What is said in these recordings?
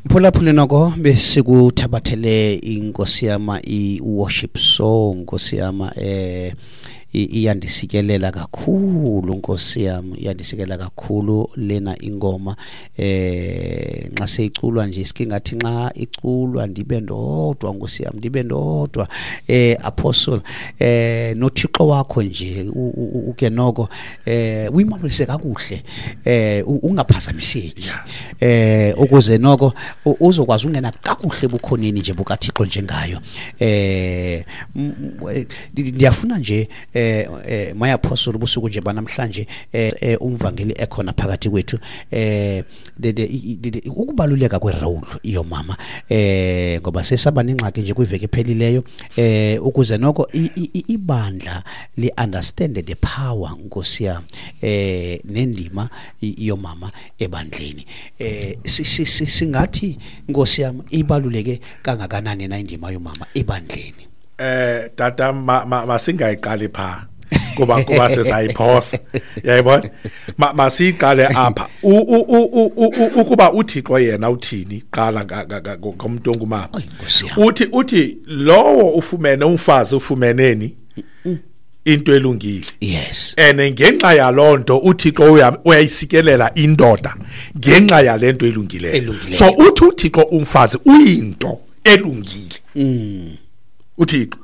Mphulaphuli, noko besikuthabathele inkosi yama i-worship song, nkosi yama, iyandisikelela kakhulu, nkosi yam, iyandisikelela kakhulu lena ingoma. Nxa seyiculwa nje sike ngathi nxa iculwa ndibe ndodwa, nkosi yam, ndibe ndodwa. Apostle, noThixo wakho nje uke noko uyimamelise kakuhle, ungaphazamiseki, ukuze noko uzokwazi ungena kakuhle ebukhoneni nje bukaThixo njengayo. Ndiyafuna nje, my apostle, ubusuku nje banamhlanje, umvangeli ekhona phakathi kwethu, ukubaluleka kwerole yomama, ngoba sesaba nengxaki nje kwiveki ephelileyo, ukuze noko ibandla li-understand the power, nkosi yam, nendima yomama ebandleni. Singathi, nkosi yam, ibaluleke kangakanani na indima yomama ebandleni? Tata, masingayiqali pha kuba sizayiphosa, yayibona. Masiyiqale apha. Ukuba uThixo yena uthini qala ngomuntu ongumama? Ay, nkosi yam. Uthi lowo ufumene umfazi ufumeneni into elungile. And ngenxa yalonto uThixo uyayisikelela indoda ngenxa yalento elungileyo. Elungileyo. So uthi uThixo umfazi uyinto elungile. uThixo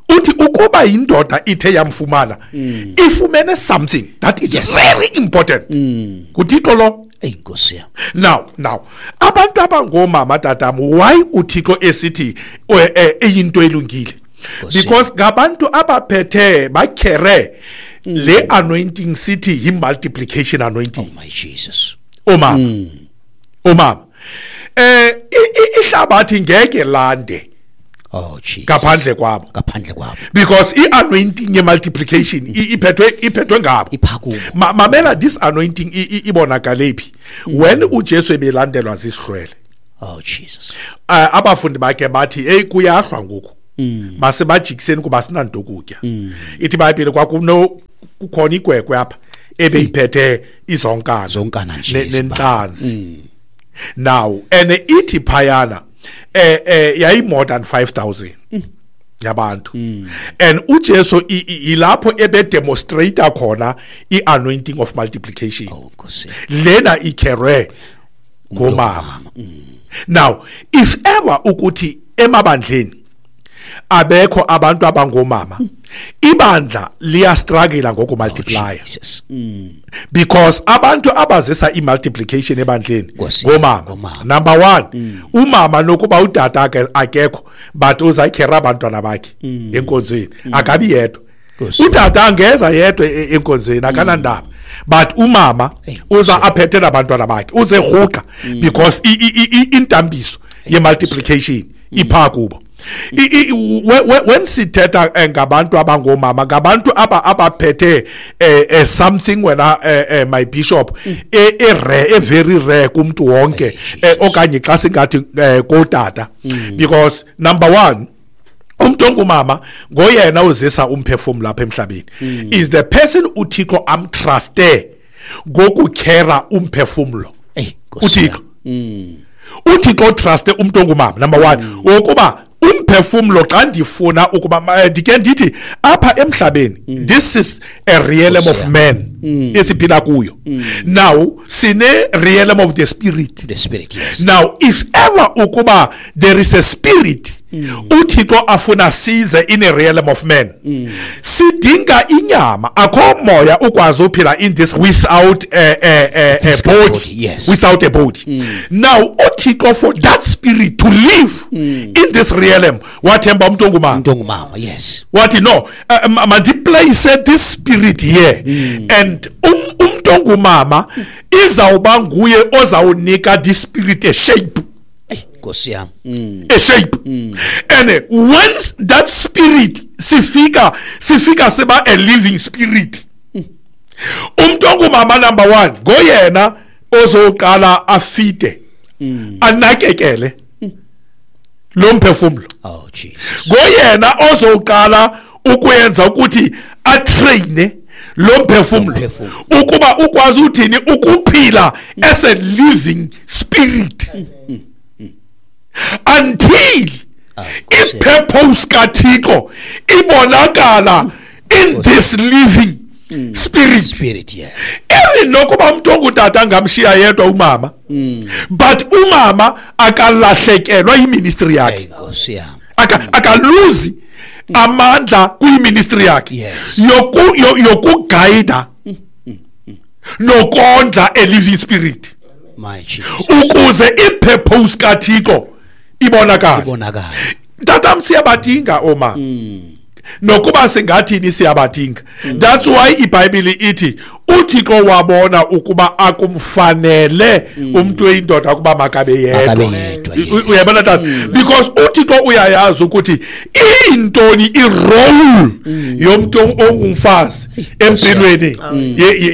uthi ukuba indoda ithe yamfumana, ifumene something that is very important kuThixo lo. Ey, nkosi yam. Now abantu abangomama, tatam, why uThixo esithi eyinto elungile? Nkosi. Because ngabantu abaphethe bakhere le anointing sithi yi multiplication anointing. Oh my Jesus. Omama, omama, ihlabathi ngeke lande Oh Jesus. ngaphandle kwabo. Ngaphandle kwabo. Because i-anointing ye-multiplication iphethwe ngabo. Iphakubo. Mamela, this anointing ibonakale phi? When uJesu ebelandelwa zisihlwele. Oh Jesus. Abafundi bakhe bathi, hey, kuyahlwa ngoku. Masebajikiseni kuba sinanto ukutya. Ithi iBhayibhile kwakuno kukhona igwegwe apha ebeyiphethe izonkana. Zonkana nje Nentlanzi. Now and ithi phayana yayi more than 5000 yabantu. And uJesu ilapho ebe demonstrate khona ianointing of multiplication. Oh Nkosi. Lena ikherwe ngomama. Now if ever ukuthi emabandleni abekho abantu abangomama, ibandla liya struggle ngoku multiply. Oh, Jesus. Because abantu abazisa i-multiplication ebandleni Nkosi, ngomama. ngomama. Number 1, umama nokuba utata akekho, but uzakhera abantwana bakhe enkonzweni, akabi yedwa. Nkosi. Utata angeza yedwa enkonzweni, akanandaba, but umama Hey, uza aphethe nabantwana bakhe, uze rhuqa because intambiso ye-multiplication ipha kubo. When sithetha ngabantu abangomama, ngabantu abaphethe something wena, my bishop, rare, very rare kumntu wonke, Hey, Jesus. okanye xa singathi kotata, because number 1, umuntu ongumama ngoyena uzisa umphefumlo lapha emhlabeni. Is the person uThixo amtruste ngokukhera umphefumlo. Hey, Nkosi uThixo. yam. uThixo truste umuntu ongumama number 1, ukuba umphefumlo xa ndifuna ukuba ndike ndithi apha emhlabeni, this is a realm Nkosi of yam. man esiphila kuyo. Now sine realm of the spirit. The spirit, yes. Now if ever ukuba there is a spirit uThixo afuna size in a realm of man, sidinga inyama. Akho moya ukwazi uphila in this without a Physical body, body, yes. Without a body. Now uThixo, for that spirit to live in this realm, wathemba umuntu ongumama. Umuntu ongumama, yes. Wathi no, mandiplace this spirit here, and umuntu ongumama izawuba nguye ozawunika this spirit a shape. Hey, Nkosi yam. A shape. And once that spirit sifika siba a living spirit. Umuntu ongumama number 1 ngoyena ozoqala afite, anakekele lo mphefumlo. Oh Jesus. Ngoyena ozoqala ukwenza ukuthi atraine lo mphefumlo Umphefumlo. ukuba ukwazi uthini ukuphila as a living spirit. Until i-purpose kaThixo ibonakala in this living spirit. Spirit, yes. Even nokuba umuntu ongutata angamshiya yedwa umama, but umama akalahlekelwa yiministry yakhe. Nkosi yami. Akaluzi amandla kuyiministry yakhe. Yes. Yokuguida nokondla a living spirit. My Jesus. Ukuze i-purpose kaThixo ibonakale. Ibonakale. Tata, siyabadinga oma. Nokuba singathini, siyabadinga. That's why iBhayibheli ithi uThixo wabona ukuba akumfanele umuntu oyindoda ukuba makabe yedwa. Makabe yedwa, yes. Uyabona tata, because uThixo uyayazi ukuthi intoni irole yomuntu ongumfazi empilweni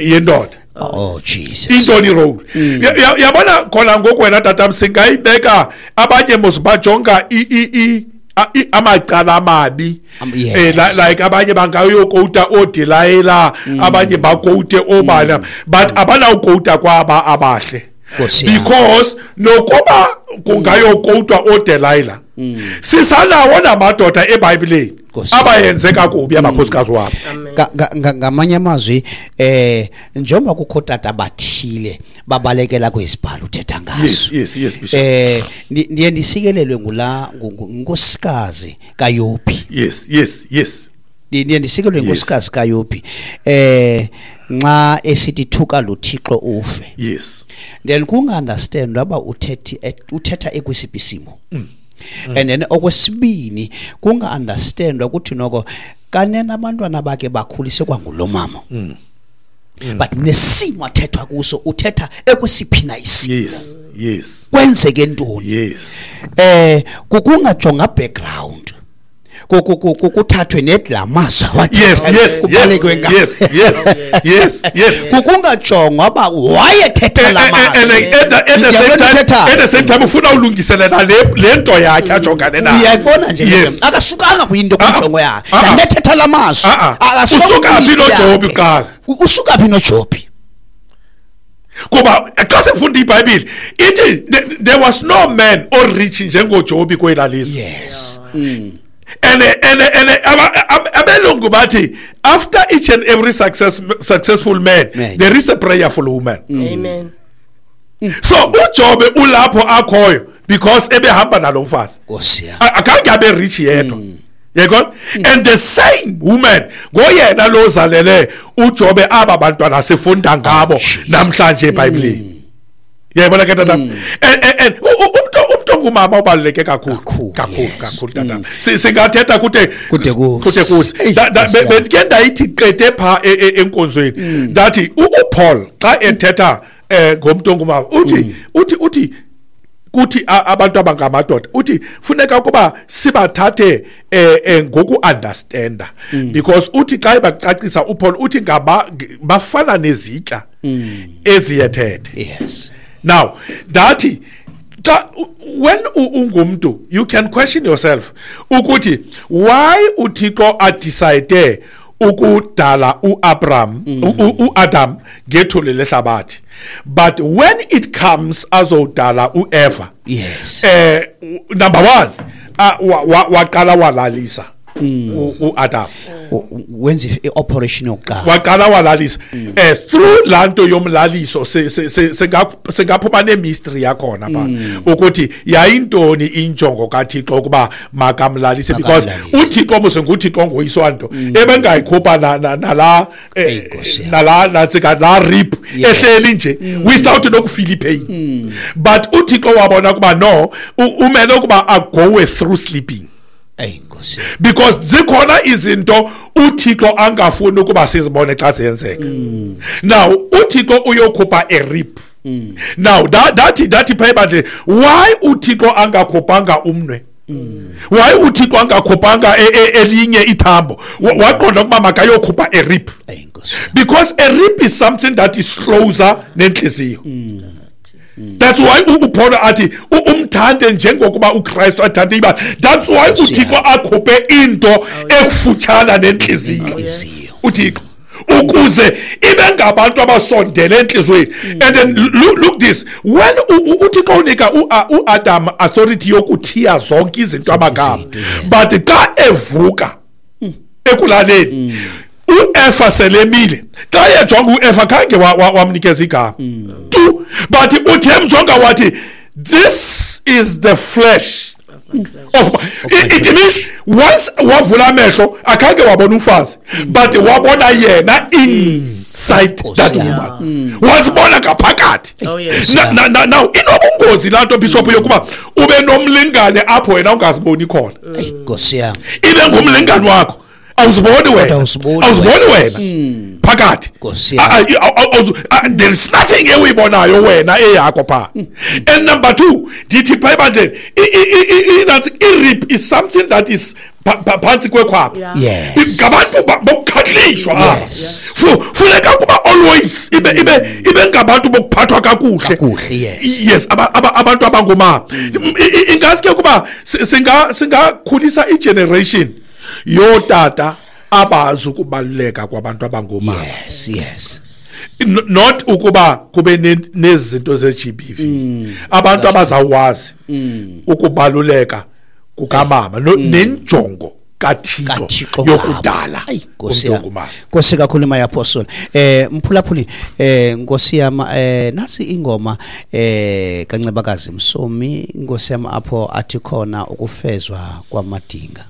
yendoda. Oh Jesus. Intoni role? Yabona khona ngoku wena tata, singayibeka abanye mos bajonga amacala amabi. Yes. Like abanye bangayokota oDelilah, abanye bakote obana, but abanawukota kwaba abahle. Nkosi yami. Because nokuba kungayokotwa oDelilah, sisanawo namadoda eBhayibhelini Nkosi yami. abayenze kakubi abakhosikazi wabo. Ngamanye amazwi, njengoba kukho tata bathile babalekela kwizibhalo uthetha ngaso. Yes, Bishop. Ndiye ndisikelelwe ngula nkosikazi kaYobi. yes. Ndiye ndisikelelwe nkosikazi kaYobi. Nxa esithi thuka lo Thixo ufe. Then kunga-understand aba uthetha ekwesiphi isimo. And then okwesibini kunga-understand ukuthi noko kanene abantwana bakhe bakhulise kwangulo mama. But nesimo athethwa kuso, uthetha ekwesiphi na isimo. yes. Kwenzeke ntoni? Kukungajonga background. Kuthathwe nedlamaza wathi kubalekwe ngayo. Yes. Kukungajongwa uba wayethetha la mazwi. And at the same time, Ngiyabona at the same time ufuna ulungiselela le nto yakhe ajongane nayo. Uyayibona nje le nto. Akasukanga kwinto kwinjongo yakhe. Ndethetha la mazwi. Akasuka Usuka phi kwinto noJobi yakhe. kuqala? Usuka phi noJobi? Kuba xa sifunda iBhayibheli ithi there was no man orich njengoJobi kwela lizwe. Yes. And abelungu bathi after each and every successful man, Man. there is a prayerful woman. Amen. So uJobe ulapho akhoyo because ebehamba nalomfazi. Nkosi yami. Akhange abe rich yedwa. Yayibona? And the same woman ngoyena lozalele uJobe aba bantwana sifunda ngabo namhlanje eBhayibhelini. Yayibona ke tata? And umuntu ongumama ubaluleke kakhulu. Kakhulu, Kakhulu, yes. kakhulu tata. Singathetha kude Kude kusi. kude kusi. Eyi, Nkosi yami. Bendike ndayithi qete pha enkonzweni. Ndathi uPaul xa ethetha ngomuntu ongumama uthi kuthi abantu abangamadoda, uthi funeka ukuba sibathathe ngoku understanda, because uthi xa ebacacisa uPaul uthi ngaba bafana nezitya eziyethethe. Now that xa when ungumntu you can question yourself ukuthi why uThixo adecide ukudala uAbraham, uAdam ngethuli lehlabathi, but when it comes azodala uEva, number 1, waqala walalisa uAdam. Wenza i-operation yokuqala. Waqala walalisa. Through lanto yomlaliso singaphuma nemystery yakhona pha ukuthi yayintoni injongo kaThixo ukuba makamlalise, because Makamlalise. uThixo mose nguThixo ngoyiswa nto ebengayikhupha nala, Eyi, Nkosi yami. nala nantsika la rib ehleli nje without nokufeel pain. But uThixo wabona ukuba no, umele ukuba agowe through sleeping. Eyi, Nkosi yami. Because zikhona izinto uThixo angafuni ukuba sizibone xa ziyenzeka. Now uThixo uyokhupha a rib. Now that phayibandle, why uThixo angakhuphanga umnwe? Why uThixo angakhuphanga elinye ithambo? Waqonda ukuba makayokhupha a rib. Eyi, Nkosi yami. Because a rib is something that is closer nenhliziyo. That's why uPaul athi umthande njengokuba uKristu athande ibandla. That's why Nkosi uThixo yami. akhuphe into ekufutshana nenhliziyo. Nenhliziyo. uThixo Ukuze ibe ngabantu abasondele entliziyweni. And then look this, when uThixo unika uAdam authority yokuthiya zonke izinto amagama, but xa evuka ekulaleni uEfa selemile, xa ejonga uEfa khange wamnikeza igama tu, but uthi emjonga wathi, "This is the flesh of it." Means once wavula amehlo, akhange wabona umfazi, but wabona yena inside that woman, wazibona ngaphakathi. Oh, yes. Now inobungozi laa nto, bishop, yokuba ube nomlingane apho wena ungaziboni khona. Eyi, Nkosi yam. Ibe ngumlingane wakho, awuziboni wena. Awuziboni. Awuziboni wena phakathi. Nkosi yam. There is nothing ewuyibonayo wena eyakho phaa. And number two, ndithi phaa ebandleni, nantsi i-rib is something that is phantsi kwekhwapha. Ngabantu bokukhahlishwa apha. Funeka kuba always ibe ngabantu bokuphathwa kakuhle. Kakuhle, yes. Yes, abantu abangomama. Ingaske kuba singakhulisa igeneration yotata abazi ukubaluleka kwabantu abangomama. yes yes Not ukuba kube nezinto ze-GBV, abantu abazawwazi ukubaluleka kukamama nenjongo kaThixo kaThixo yokudala Ayi, Nkosi umntu yam. ongumama. Nkosi kakhulu, my apostle. Mphulaphuli, Nkosi yam, nasi ingoma kaNcebakazi Msomi, Nkosi yam, apho athi khona ukufezwa kwamadinga.